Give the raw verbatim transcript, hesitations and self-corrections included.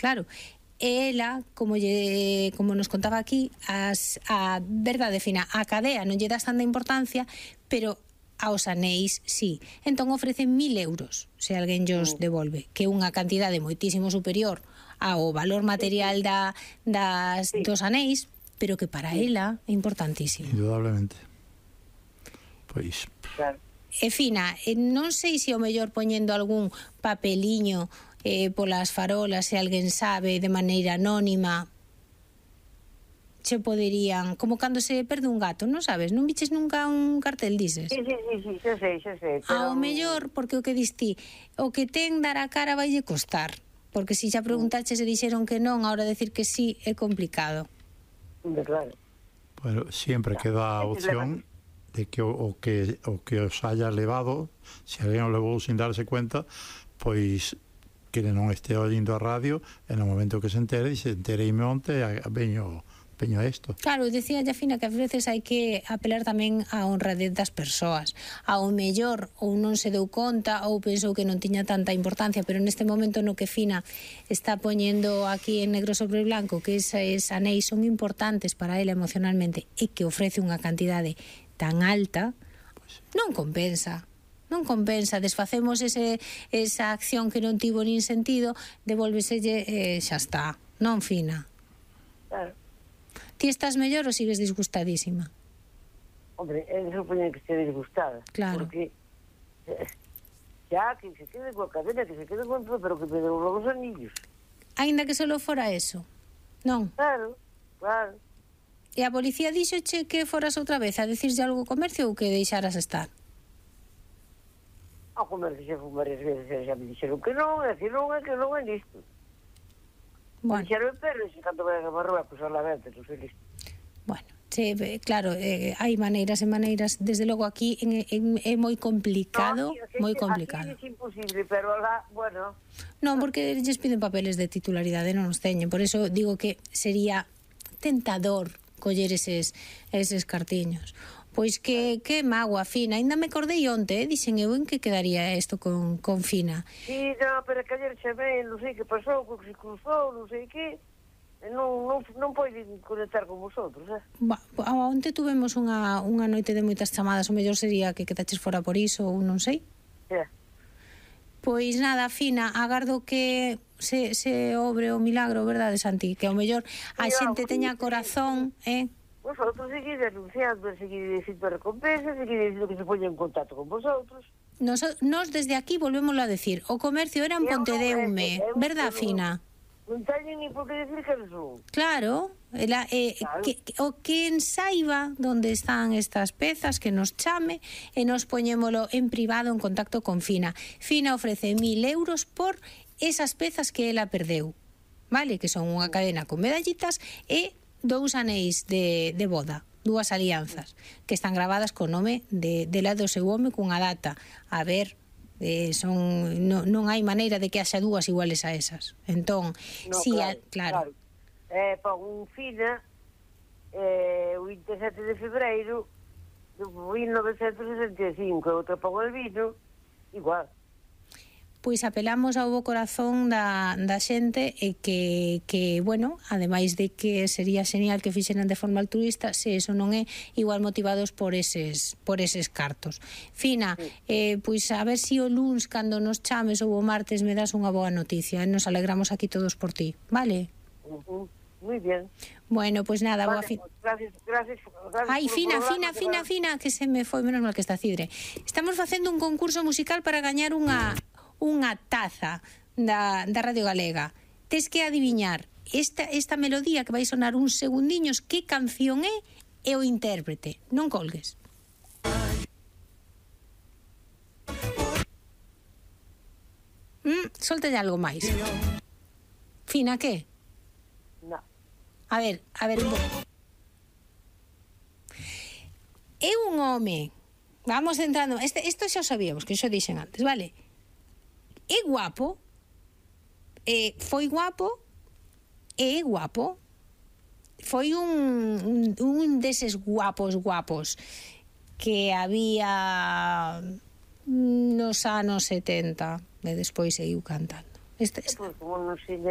claro, e ela, como lle, como nos contaba aquí, as, a verdade fina, a cadea non lle das tanta importancia, pero aos anéis, sí. Entón ofrecen mil euros se alguén llos devolve, que é unha cantidade moitísimo superior ao valor material da, das, Sí. dos anéis, pero que para ela é importantísimo. Indudablemente. Pois... Claro. E fina, non sei se o mellor poñendo algún papeliño eh, polas farolas, se alguén sabe, de maneira anónima, se poderían, como cando se perde un gato, non sabes? Non viches nunca un cartel, dices? Sí, sí, sí, sí, xa sei, xa sei. Ao mellor, porque o que diste, o que ten dar a cara vaille costar, porque se xa preguntaches e dixeron que non, a hora de decir que sí é complicado. Claro. Bueno, sempre queda a opción de que o, o que o que os haya levado, se alguén o levou sin darse cuenta, pois que non este oindo a radio, e no momento que se entere, se entereime onte, veño, veño a isto. Claro, decía ya Fina que a veces hai que apelar tamén á honradez das persoas. Ao mellor ou non se deu conta ou pensou que non tiña tanta importancia, pero neste momento no que Fina está poñendo aquí en negro sobre blanco que eses anéis son importantes para ela emocionalmente e que ofrece unha cantidade tan alta, non compensa. Non compensa, desfacemos ese, esa acción que non tivo nin sentido, devolveselle e eh, xa está, non Fina. Claro. Ti estás mellor ou sigues disgustadísima? Hombre, é que supoñen que esté disgustada. Claro. Porque xa que se quede coa cadena, que se quede con todo, pero que me deu logo os anillos. Ainda que solo fora eso, non? Claro, claro. E a policía díxoche que foras outra vez a decirlle algo ao comercio ou que deixaras estar? Ao comercio xa fui varias veces e xa me dixeron que non, é que non, é que non é listo. Bueno. Me dixeron, pero se canto vai a Marruecos a la venta, non sei listo. Bueno, che, claro, eh, hai maneiras e maneiras, desde logo aquí en, en, é moi complicado, no, aquí, moi complicado. Aquí é imposible, pero lá, bueno... Non, porque lles piden papeles de titularidade, non os teñen, por eso digo que sería tentador coller eses, eses cartiños. Pois que, que magua, Fina. Ainda me acordei onte, eh? Dixen eu en que quedaría isto con, con Fina. Sí, no, pero que ayer chamei, non sei que pasou, que se cruzou, non sei que, non, non, non poden conectar con vosotros, eh? Ba, onte tuvemos unha, unha noite de moitas chamadas, o mellor sería que quedaches fora por iso ou non sei. Yeah. Pois nada, Fina, agardo que se, se obre o milagro, verdade, Santi? Que ao mellor a sí, xente sí, teña sí, corazón, eh? Vosotros seguís denunciando, seguís dicindo recompensa, seguís dicindo que se poña en contacto con vosotros. Nos, nos desde aquí volvémoslo a decir, o comercio era en Pontedeume, verdad, Fina? Non teñen ni por que decir que son. Claro, ela, eh, Claro. que, o que saiba onde están estas pezas, que nos chame e nos poñémolo en privado en contacto con Fina. Fina ofrece mil euros por esas pezas que ela perdeu, vale? Que son unha cadena con medallitas e dous anéis de, de boda, dúas alianzas, que están gravadas co nome de, de la do seu home cunha data. A ver, eh, son no, non hai maneira de que haxa dúas iguales a esas. Entón, No, si claro, a, claro. claro. Eh, pon un Fina, eh, o vinte e sete de febreiro de mil novecentos e sesenta e cinco, outra pon el vino, igual. Pois apelamos ao bo corazón da, da xente e que, que, bueno, ademais de que sería genial que fixeran de forma altruista, se eso non é, igual motivados por eses, por eses cartos. Fina, sí. eh, pois a ver si o luns, cando nos chames ou o martes, me das unha boa noticia, e nos alegramos aquí todos por ti, vale? Uh-huh. Muy bien. Bueno, pois pues nada, vale, boa fin. Pues gracias, gracias, gracias. Ai, Fina, Fina, que Fina, Fina, que se me foi, menos mal que está Cidre. Estamos facendo un concurso musical para gañar unha unha taza da, da Radio Galega. Tes que adiviñar esta, esta melodía que vai sonar uns segundiños, que canción é e o intérprete. Non colgues. Mm, soltalle algo máis. Fina, que? No. A ver, a ver un pouco. É un home. Vamos entrando. Este, isto xa o sabíamos, que xo dixen antes, vale? É guapo, eh, foi guapo, é guapo, foi un, un, un deses guapos guapos que había nos anos setenta e despois seguiu cantando. Este, este. Pues, como non sei